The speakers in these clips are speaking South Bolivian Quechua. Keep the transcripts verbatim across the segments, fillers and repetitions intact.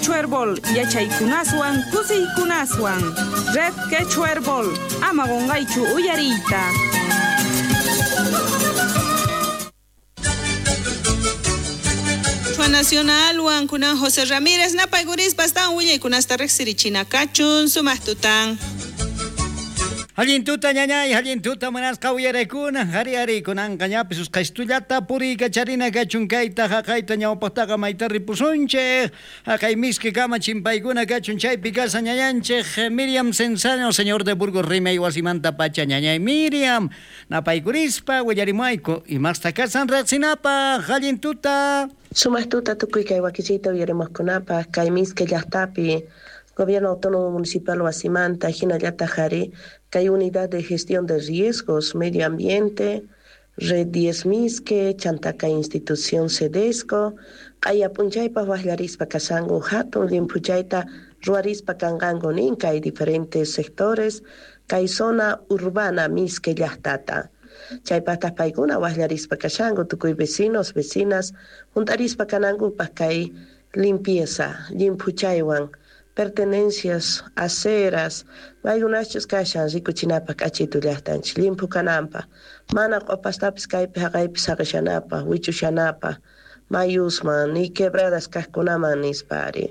Quechua Herbol yachaykunaswan kusiykunaswan. Red Quechua Herbol ama qunqaychu uyariyta. Nacional Huancunan José Ramírez napaykurispa astawan willaykunasta riqsirichina kachun sumaq tutan. Allin tuta ñañay, allin tuta munasqa uyarakuna, hari hari kunanqa ñapis usqaystullata puriykacharina kachun kayta haqayta ñawpaqtaqa mayta ripusunchik, haqay miski kama chimpaykuna kachun chaypi kasa ñañanchik Miriam Cenzano, señor de Burgos rimay wasimanta pacha ñañay Miriam, napaykurispa willarimuayku imasta kasan riqsinapaq, allin tuta. Sumaq tuta tukuy kay wakichiyta uyarimuqkunapaq kay miski llaqtapi Gobierno Autónomo Municipal wasimanta hinallataq hari kay Unidad de Gestión de Riesgos, Medio Ambiente, Red diez Misque, Chantaka Institución Cedesco, q'aya p'unchaypaq waqllarispa kasanku hatun llimphuchayta ruwarispa kanqanku nin kay diferentes sectores kay zona urbana Misque llaqtata. Chaypaqtaq paykuna waqllarispa kashanku tukuy vecinos, vecinas, hunt'arispa kanankupaq kay limpieza, llimphuchaywan pertenencias, aceras, maykunachus kashan rikuchinapaq k'achitu llaqtanchik llimphu kananpaq, mana q'upastapis kaypi haqaypi saqishanapaq, wichushanapaq, mayusman, ni quebradas kaqkunaman nispa ari.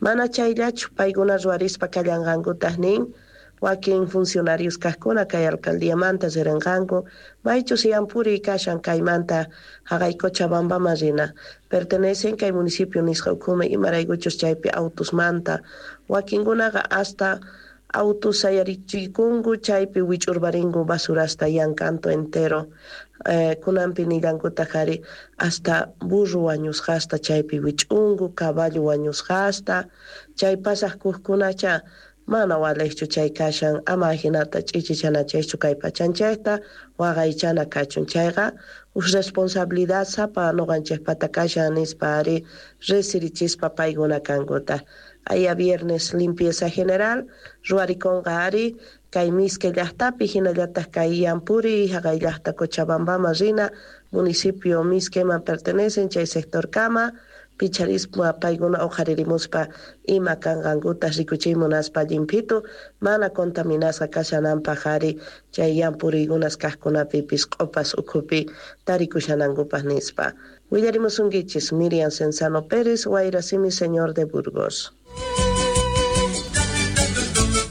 Mana chayllachu paykuna ruwarispa kallanqankutaq nin, wakin funcionarios kaqkuna kay alcaldiamanta riranqanku, maychus yampuri kashan kaymanta haqay Cochabambaman rina, pertenecen kay municipio nisqa ukhuman imaraykuchus chaypi autusmanta, wakinkunaqa hasta autos sayarichikunku chaypi wich'urparinku basurasta yankanto entero, eh, kunanpi nillankutaq ari hasta burro wañusqasta chaypi wich'unku, caballo wañusqasta, chay pasaq kuqkunacha mana waliqchu chay kashan, ama hinata ch'ichichanachaychu kay pachanchayta waqaychana kachun chayqa uj responsabilidad sapa nuqanchikpata kashan nispa ari resirichispa paykuna kankuta. Aya viernes limpieza general ruwarikunqa ari kay Misque llaqtapi hinallataq kay Yampuri haqay llaqta Cochabambaman rina municipio Misqueman pertenecen chay sector kama picharispa paykuna uqharirimuspa ima kanqankuta rikuchiy munaspa llimphitu mana contaminasqa kashananpaq ari chay yampuriykunas kaqkunapipis q'upas ukhupi tarikushanankupaq nispa. Willarimusunkichis Miriam Cenzano Pérez, Wayrasimi, señor de Burgos.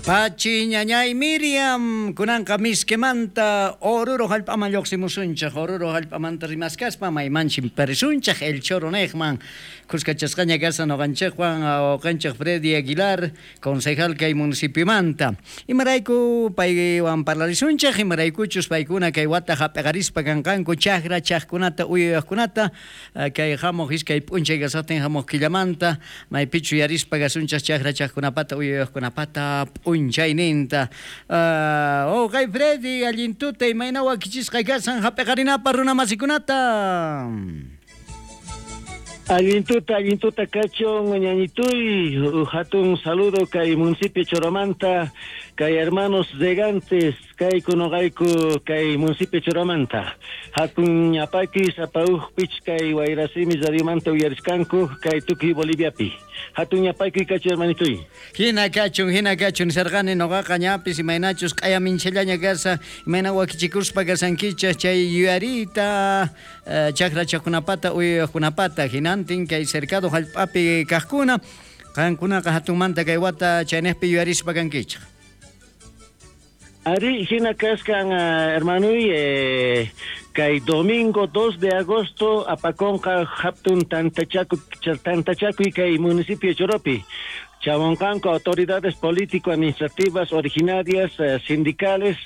Pachi ñañay Miriam, kunanqa Misquemanta Oruro hallp'aman lluqsimusunchik, Oruro hallp'amanta rimaskaspa maymanchik parisunchik El Choro niqman, kuskachasqaña kasan nuqanchikwan wawqinchik Freddy Aguilar, concejal kay municipiomanta. Imarayku paywan parlarisunchik, imaraykuchus paykuna kay wata hap'iqarispa kanqanku chakra chaqkunata uyuyaqkunata kay hamuq iskay p'unchay kasaqtin hamuq killamanta maypichu yarispa kasunchik chakra chaqkunapata uyuyaqkunapata p'unchayninta. Uh, oh, kay Freddy, allin tuta imayna wakichisqa kasan hap'iqarinapaq runa masikunata. Allin tuta, allin tuta kachun ñañituy, hatun saludo kay municipio Choromanta, kay hermanos regantes, kay kunuqayku kay municipio Choromanta. Hatun ñapaki sapauq pich kay Wayrasimi radiomanta uyariskanku kay tukuy Boliviapi. Hatun ñapaki kachu hermanituy. Hina kachun, hina kachun nisarqani nuqaqa ñapis imaynachus q'aya minchallaña kasa, imayna wakichikuspa kasankichaq chay yuyariyta uh, chakra chaqkunapata uyuyaqkunapata hinantin kay cercado hallp'api kaqkuna qankunaqa hatunmanta kay wata chaynejpi yuyarispa kankichaq. Ari hina kaskan uh, hermanuy eh, kay domingo dos de agosto apakonqa hatun tantachaku tantachakuy kay municipio Choropi. Chamoncanco, autoridades político-administrativas originarias, eh, sindicales,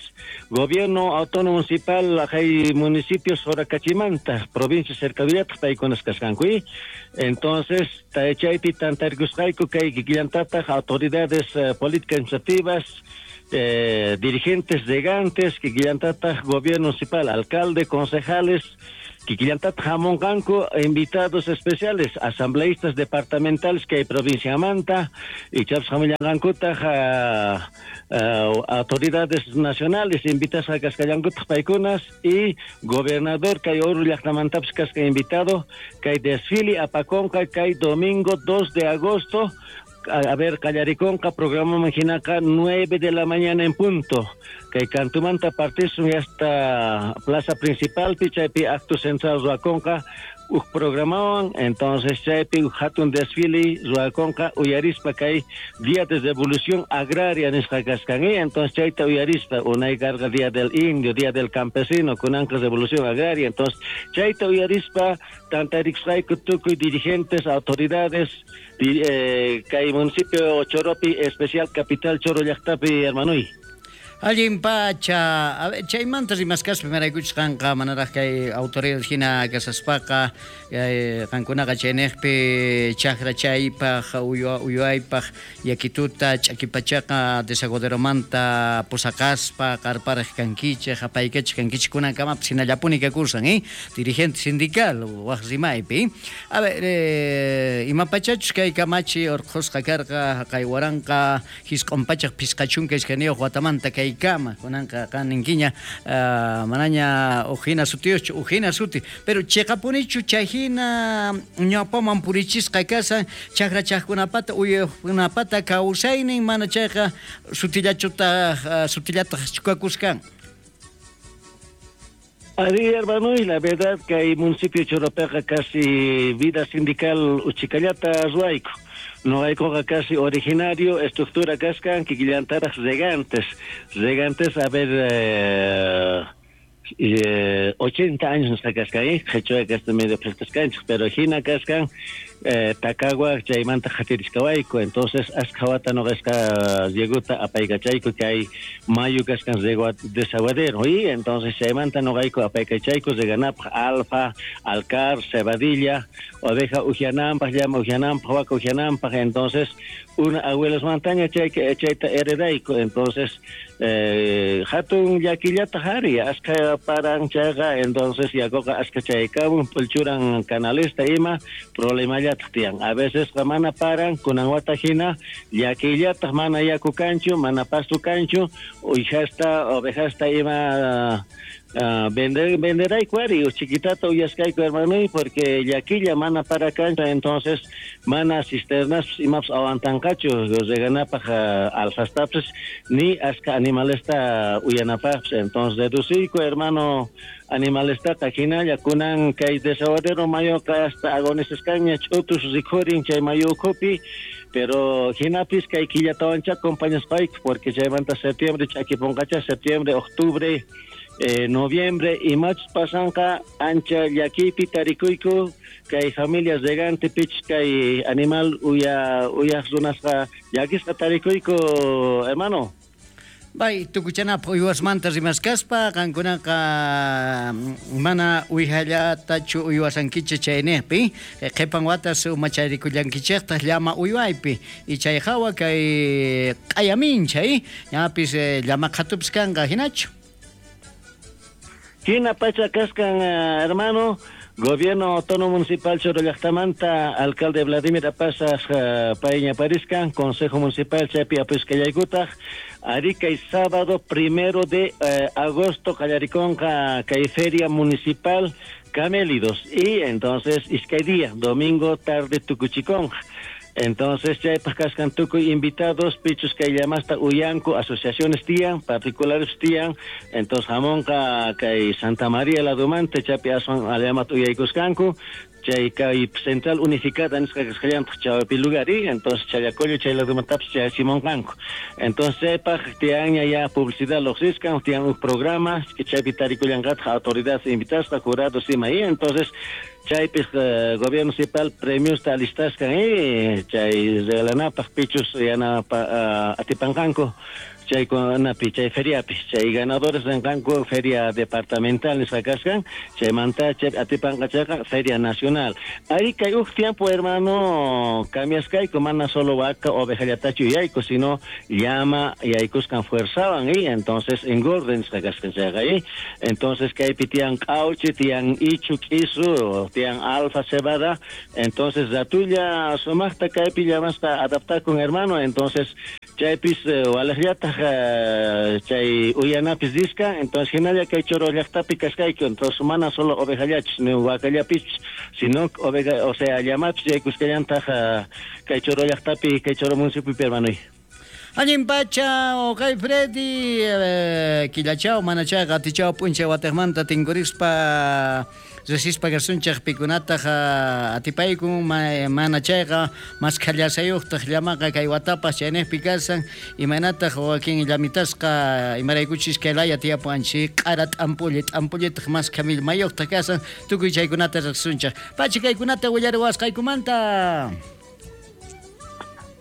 gobierno autónomo municipal, hay municipios Soracachimanta, provincia Cercaduriata, paykunas kasqanku. Entonces, chaypi tantarkusqayku kay kikillantataq autoridades eh, político-administrativas, eh, dirigentes regantes, kikillantataq gobierno municipal, alcalde, concejales, Kikillantataq hamunqanku invitados especiales, asambleístas departamentales kay provinciamanta, ichapas hamullanqankutaq uh, uh, autoridades nacionales invitasqa kasqallankutaq paykunas y gobernador kay Oruro llaqtamantapis kasqa invitado kay desfile apakonqa kay domingo dos de agosto. A ver, qallarikonqa programaman hinaqa nueve de la mañana en punto. Kay kantumanta partisun hasta plaza principal chaypi acto central ruwakonqa uj programawan, entonces chaypi uj hatun desfile ruwakonqa uyarispa kay Día de Revolución Agraria nisqa kasqan, entonces chayta uyarispa unay karqa Día del Indio, Día del Campesino, kunanqa Revolución Agraria, entonces chayta uyarispa tantarikusqayku tukuy dirigentes, autoridades eh, kay municipio Choropi, especial capital Choro llaqtapi, hermanuy. Allin pacha, a ver, chaymanta rimaskaspa imaraykuchus qanqa manaraq kay autoridad hina kasaspaqa qankunaqa chayniqpi chakra chaypaq uywaypaq yakituta ch'akipachaqa desaguaderomanta pusaqaspa qarparaq kankichik apaykachik kankichik kunankamapis hinallapuni kakursan, eh? Dirigente sindical waq rimaypi. A ver, eh, imapachachus kay kamachi urqhusqa karqa kay waranqa hisq'un pachaq phisqa chunka iskayniyuq watamanta kay kama kunanqa qan ninkiña uh, manaña ujina sutiyuqchu ujina suti pero chiqapunichu chayhina ñawpaman purichisqa kasan chakra chaqkunapata uywaqkunapata kawsaynin mana chayqa sutillachutaq uh, sutillataq chukakuskan. Ari, hermano, y la verdad que hay municipio Choropeqa casi vida sindical uchikallata ruayku. No hay coca casi originario, estructura cascan, kikillantaraq regantes. Regantes, a ver, eh, eh, ochenta años nos cascan, eh, qhichwa kasta medio prestaskanchik, pero hina kaskan, eh, Tacagua chaymanta qhatiriskawayku, entonces askha wata noqasqa rieguta apaykachayku kay mayu kaskan riego desaguadero, y entonces chaymanta noqayku apaykachayku reganapaq alfa, alcar, cebadilla, oveja ujiananpaq, llama ujiananpaq, waka ujiananpaq, entonces una abuelas montaña chay chayta heredayku, entonces eh, hatun llakillata hari askha paran chayqa, entonces yakuqa askha chaykamun p'ulchuran canalesta ima problema tiyan. A veces mana paran kunan wata hina llakillataq mana yaku kanchu, mana pasto kanchu, uyjasta ovejasta ima uh, vender venderayku ari chiquitata uyaskayku hermano, porque llakilla mana para cancha, entonces mana cisternas imapas aguantanqachu reganapaq uh, alfastapis ni aska animalesta uyanapaqpis, entonces reduciyku hermano animalestaqa hinalla kunan kay desaguadero mayoqa hasta agonisqaña ch'utus rikhurin chay mayu ukhupi, pero hinapis kay killatawancha acompañaspayku porque chaymanta septiembre ch'akipunqacha septiembre, octubre, eh, noviembre y machus pasanqa ancha llakipi tarikuyku kay familias regante pich kay animal uya uyaq runasqa llakisqa tarikuyku hermano. Bay, tukuchanapaq uywasmanta rimaskaspa qankunaqa mana uywallatachu uywasankichik chayniqpi qhipan watas umacharikullankichistaj llama uywaypi y chay hawa kay q'ayamincha ñapis llama qhatupis kanqa hinachu. Hina pacha kaskan hermano. Gobierno Autónomo Municipal Choro llaqtamanta alcalde Vladimir Apasas uh, payña pariskan, Consejo Municipal chaypi apuskallaykutaq ari kay sábado primero de uh, agosto qallarikonqa kay feria municipal Camélidos y entonces iskay día domingo tarde tukuchikonqa. Entonces chaypaq kaskan tukuy invitados pichus kay llamasta uyanku asociaciones tiyan particulares tiyan, entonces hamonqa kay Santa María ladumanta chaypi aswan allamat uyaykusqanku chay kay central unificada nisqa kasqallantaq chaypi lugar y entonces chayacollo chay ladumantapis chayachimunqanku, entonces chaypaq tiyanña ya publicidad lluqsiskan tiyan un programa que chaypi tarikullanqataq autoridades invitasqa jurados ima y entonces chaypis uh, gobierno municipal premiosta alistaskan y chay regalanapaq pichus yanapa uh, atipanqanku Chaykunapi chay feriapi chay ganadores rinqanku feria departamental nisqa kasqan chaymanta chay atipanqa chayqa feria nacional. Ari kay uj tiempo hermano cambiasqayku mana solo vaca ovejallatachu yayku sino llama yaykusqan fuerzaban y entonces engorden nisqa kasqan chayqa y entonces kaypi tiyan q'awchi tiyan ichu k'isu tiyan alfa cebada entonces ratulla sumaqta kaypi llamasqa adaptakun hermano entonces chaypis walejllataj chay uyanapis disca entonces hinalla kay Choro llaqtapi kasqayku entonces mana solo ovejallachus ni vacallapis sino oveja o sea llamapis yaykusqallantaj kay Choro llaqtapi kay Choro municipiopi hermano. Allin pacha, okay Freddy, eh, killachao, manachao, gatichao, p'unchay watejmanta tinkurispa riqsispa kasunchej pikunataq atipaykun mana chayqa maskhallasayuqtaq llamaqa kay watapas chaynejpi kasan imaynataq wakin llamitasqa imaraykuchis kay laya tiyapuwanchik q'ara t'ampulli t'ampullitaq maskha millmayuqtaq kasan tukuy chaykunata riqsunchej pacha kaykunata willariwasqaykumanta.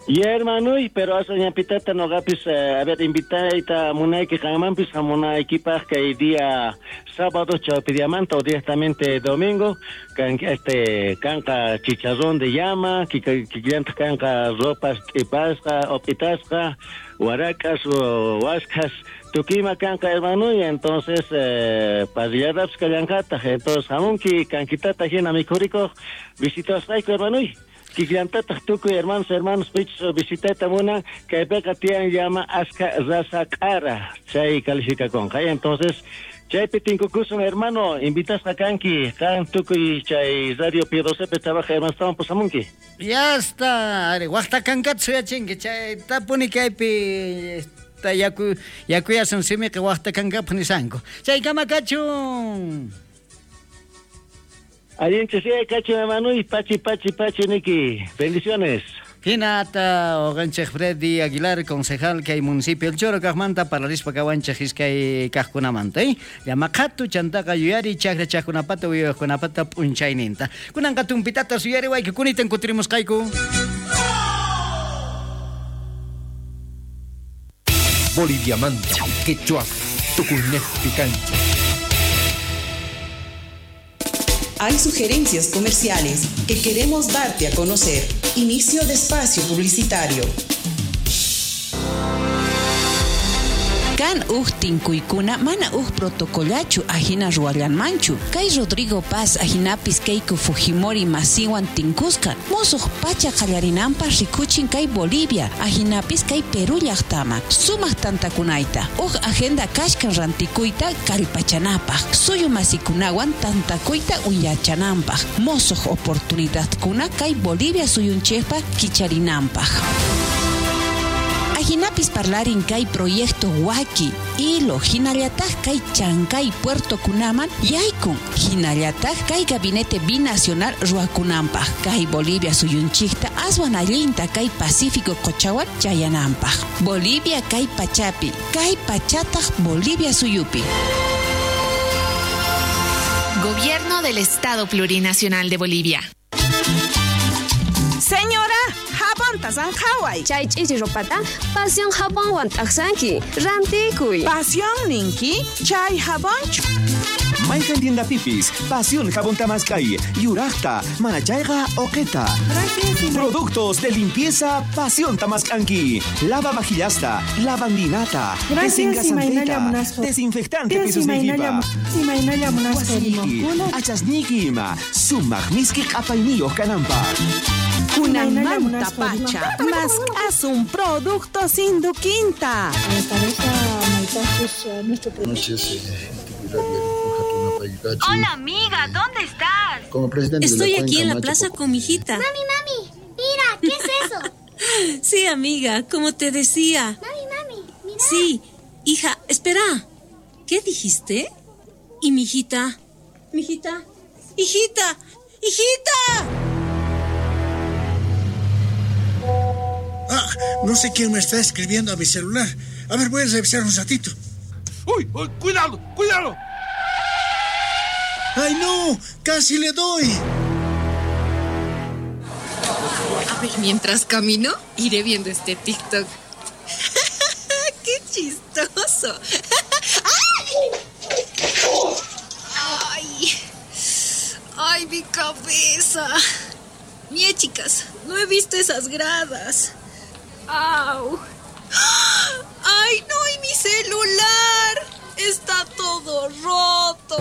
Y hermano, pero hace ñapitata nogapis, eh, a ver, invitaita munayki qanmanpis hamunaykipaq kay día sábado chawpidiamanta o directamente domingo kan este kanqa chicharrón de llama, kikillantaq kanqa ropas t'ipasqa o p'itasqa waracas o waskhas tukima kanqa hermano y entonces eh, parrilladapis kallanqataq entonces hamunki kankitata hina mikhurikuq visitasqayku hermano. Kikillantataq tukuy hermanos hermanos pichus visitayta munan kaypiqa tiyan llama aska raza q'ara chay calificakunqa entonces chaypi tinkukusun hermano invitasqa kanki qan tukuy chay Radio P doce pi trabaja hermanostawan pusamunki. Ya está ari waqta kankata suyachinki chay tapuni kaypi yaku yakuyasun simiqa waqta kankapaq nisanku chaykama kachun. Allinchis kachu hermano y pachi pachi pachi niki. Bendiciones. Hinata oqanchej Freddy Aguilar, concejal kay municipio El Choro kaqmanta parlarispa kawanchej iskay kaqkunamanta eh? Llamaqhatu chantaqa yuyari chakra chaqkunapata uyaykunapata p'unchayninta. Kunanqa tumpitata suyariwayku kunitan kutirimusqayku. Boliviamanta, quechua, tukuynejpi kancha. Hay sugerencias comerciales que queremos darte a conocer. Inicio de espacio publicitario. Kan uj tinkuykuna mana uj protocolachu ajina ruwallanmanchu. Kay Rodrigo Paz ajinapis Keiko Fujimori masiwan tinkusqa. Musuq pacha qallarinanpaq rikuchin kay Bolivia ajinapis kay Perú llaqtama. Sumaq tantakunayta. Uj agenda kashkan rantikuyta kallpachanapaq. Suyu masikunawan tantakuyta uyachananpaq. Musuq oportunidadkuna kay Bolivia suyunchikpaq kicharinanpaq. Ajinapis parlarin kay proyecto Waki, Ilo, hinallataq kay Chancay Puerto Kunaman yaykun, hinallataq kay gabinete binacional ruwakunanpaq, kay Bolivia suyunchikta aswan allinta kay Pacífico qochawan chayananpaq. Bolivia kay pachapi, kay pachataq Bolivia suyupi. Gobierno del Estado Plurinacional de Bolivia. Señora, jabonta sanjaway. Chay ch'ichi ropata pasión jabonwan t'aqsanki. Rantikuy. Pasión ninki, chay jabonchu. Mayqan tiendapipis, Pasión jabón tamaskay, yuraqta, manachayqa oqeta. Productos de limpieza Pasión tamaskanki. Lava vajillasta, lavandinata, desengasanteta, desinfectante pisos nikipa. Wasiki, achasniki ima, sumaq miski q'apayniyuq kananpaq. Kunanmanta pacha, más un producto sin duquinta. Hola amiga, ¿dónde estás? Como presidente Estoy de la aquí en la Macho plaza con mi hijita. Mami, mami, mira, ¿qué es eso? Sí, amiga, como te decía. Mami, mami, mira. Sí, hija, espera. ¿Qué dijiste? ¿Y mi hijita? ¿Mi hijita? ¡Hijita! ¡Hijita! Ah, no sé quién me está escribiendo a mi celular. A ver, voy a revisar un ratito. ¡Uy! uy ¡Cuidado! ¡Cuidado! ¡Ay, no! ¡Casi le doy! A ver, mientras camino, iré viendo este TikTok. ¡Qué chistoso! chistoso! ¡Ay! ¡Ay! ¡Ay, mi cabeza! Mie, chicas, no he visto esas gradas. ¡Au! ¡Ay, no! ¡Y mi celular! ¡Está todo roto!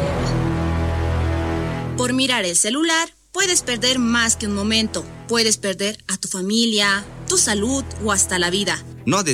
Por mirar el celular, puedes perder más que un momento. Puedes perder a tu familia, tu salud o hasta la vida. No